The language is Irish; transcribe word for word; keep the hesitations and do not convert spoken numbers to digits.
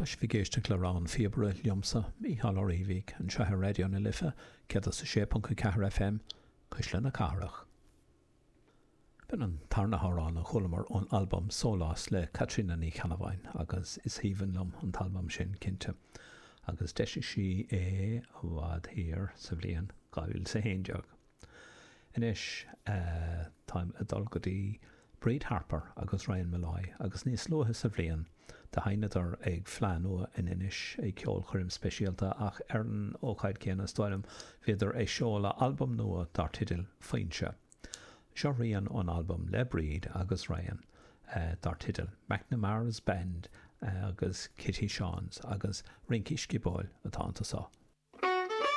Tá sibh ag éisteacht le Rann na Píobaire liomsa Mícheál Ó Riabhaigh anseo ar Raidió na Life céad a sé ponc a ceathair FM Cuisle na Cathrach. B'in an tarna hamhrán a chualamar ón albam Sólás le Caitríona Ní Cheannabháin agus is aoibhinn liom an t-albam sin cinnte, agus d'eisigh sí é i bhfad thiar sa bhliain dhá mhíle a haon déag. Anois táim ag dul go dtí Bríd Harper agus Ryan Molloy agus níos luaithe sa bhliain do sheinneadar ag Fleadh Nua in Inis ag ceolchoirm speisialta ach ar an ócáid céanna is dóigh liom bhíodar ag seoladh albam nua dar teideal Foinse. Seo rian ón albam le Bríd agus Ryan dar teideal McNamara's Band agus Kitty Sean's agus rince sciobóil atá anseo.